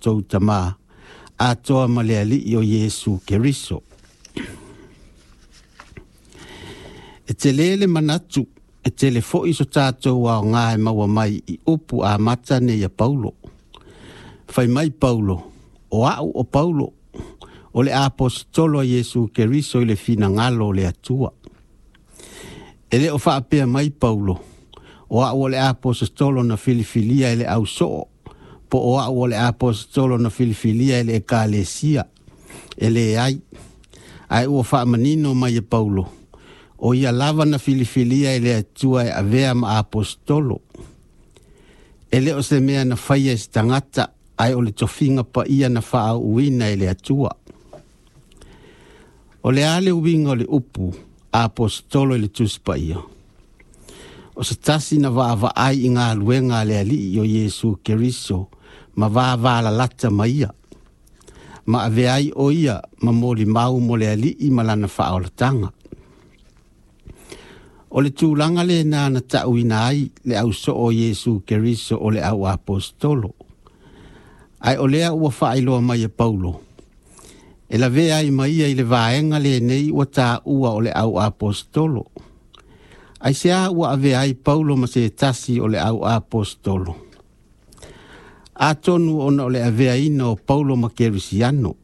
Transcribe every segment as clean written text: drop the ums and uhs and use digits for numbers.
tatou Tamā, atoa ma le Alii o Iesu Keriso. E tele le manatu, e tele foi so tatou aoga e maua mai i upu amata nei a Paulo. Fai mai Paulo, o au o Paulo, o le aposetolo a Iesu Keriso i le finagalo o le Atua. E le o faapea mai Paulo, o au o le aposetolo na filifilia e le ausoo, po o au o le aposetolo na filifilia e le ekalesia. E leai, ae ua faamanino mai e Paulo, o ia lava na filifilia e le Atua e avea ma aposetolo. E le o se mea na faia e se tagata, ae o le tofiga paia na faaauuina e le Atua. O le a le uiga o le upu aposetolo i le Tusi Paia? O se tasi na vaavaai i galuega a le Alii o Iesu Keriso ma vavalalata ma ia, ma avea ai o ia ma molimau mo le Alii ma lana faaolataga. O le tulaga lena na ta'uina ai le ausoo o Iesu Keriso o le au aposetolo. Ae o lea ua faailoa mai e Paulo, e lavea ai ma ia i le vaega lenei ua taua o le au aposetolo. Aisea ua avea ai Paulo ma se tasi o le au aposetolo? Atonu ona o le aveaina o Paulo ma Kerisiano,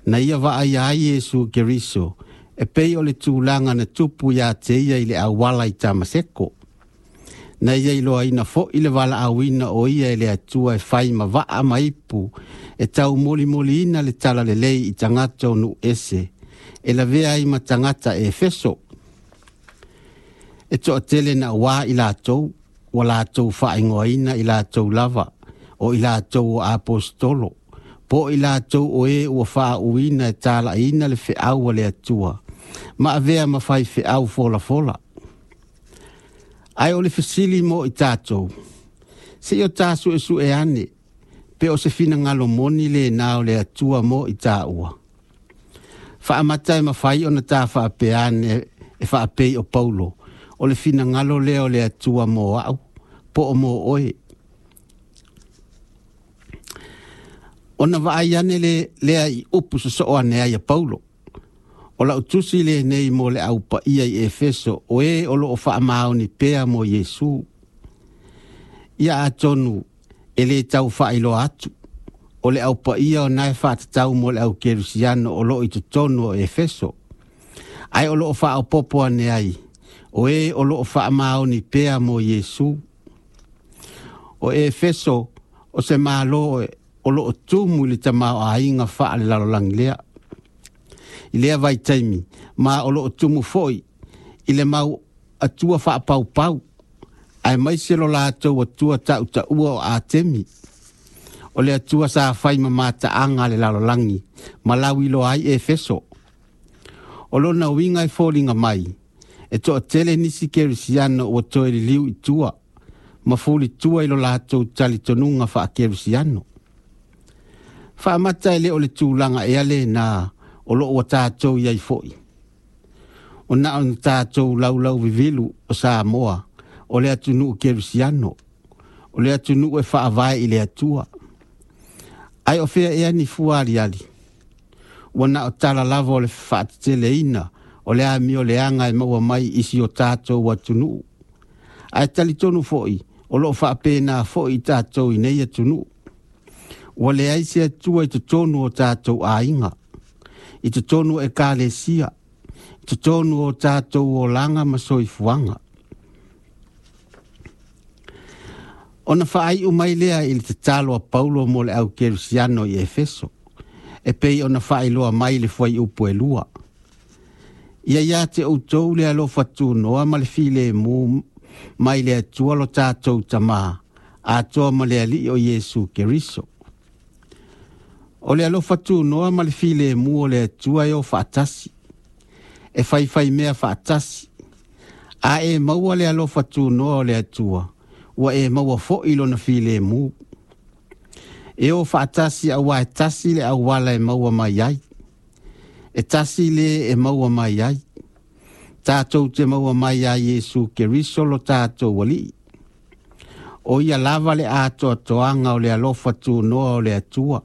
na ia vaaia ai Iesu Keriso, e pei o le tulaga na tupu ia te ia i le auala i Tamaseko. Na ia iloaina foi le valaauina o ia e le Atua e fai ma vaa ma ipu, e taumolimoliina le talalelei i tagata o nuu ese, e lavea ai ma tagata Efeso. E toatele na uā i latou, ua latou faaigoaina i latou lava, o i latou o aposetolo, po o i latou o e ua faauuina e talaiina le feau a le Atua, ma avea ma faifeau folafola. Ae o le fesili mo i tatou, se i o ta suesue ane, pe o se finagalo moni lena o le Atua mo i taua. Faamata e mafai ona ta faapea ane e faapei o Paulo, o le finagalo lea o le Atua mo au, po o mo oe. Ona vaai ane lea i upu sosoo ane ai a Paulo. O lau tusi lenei mo le au paia i Efeso, o e o loo faamaoni pea mo Iesu. Ia atonu e le tau faailoa atu, o le au paia o nae faatatau mo le au kerisiano o loo i totonu o Efeso. Ae o loo faaopopo ane ai, o e o loo faamaoni pea mo Iesu. O Efeso o se malo o loo tumu i le tamaoaiga faalelalolagi lea. I lea vaitaimi, ma o loo tumu foi i le mau atua faapaupau, aemaise lo latou atua tautaua o Atemi. O le atua sa fai ma mataaga a le lalolagi, ma lauiloa ai Efeso. O lona uiga e foliga mai, e toatele nisi kerisiano ua toe liliu i tua, ma fulitua i lo latou talitonuga faakerisiano. Faamata e le o le tulaga ea lena o loo ua tatou i ai foi. O na ona tatou laulau vivilu o Samoa, o le atunuu kerisiano, o le atunuu e faavae i le Atua. Ae o fea ea ni fua aliali? Ua na o tala lava o le faateteleina o le amioleaga e maua mai i si o tatou atunuu. Ae talitonu foi, o loo faapena foi i tatou i nei atunuu. Ua leai se Atua i totonu o tatou aiga, i totonu o ekalesia, i totonu o tatou olaga ma soifuaga. Ona faaiu mai lea i le tatalo a Paulo mo le au kerisiano i Efeso, e pei ona faailoa mai le fuaiupu e 2. Ia ia te outou le alofa tunoa ma le filemu mai le Atua lo tatou Tamā, atoa ma le Alii o Iesu Keriso. O le alofa tunoa ma le filemu o le Atua e o faatasi, e faifai mea faatasi. A e maua le alofa tunoa o le Atua, ua e maua foi lona filemu. E o faatasi auā e tasi le auala e maua mai ai. E tasi le e maua mai ai. Tatou te maua mai ia Iesu Keriso lo tatou Alii. O ia lava le atoatoaga o le alofa tunoa o le Atua.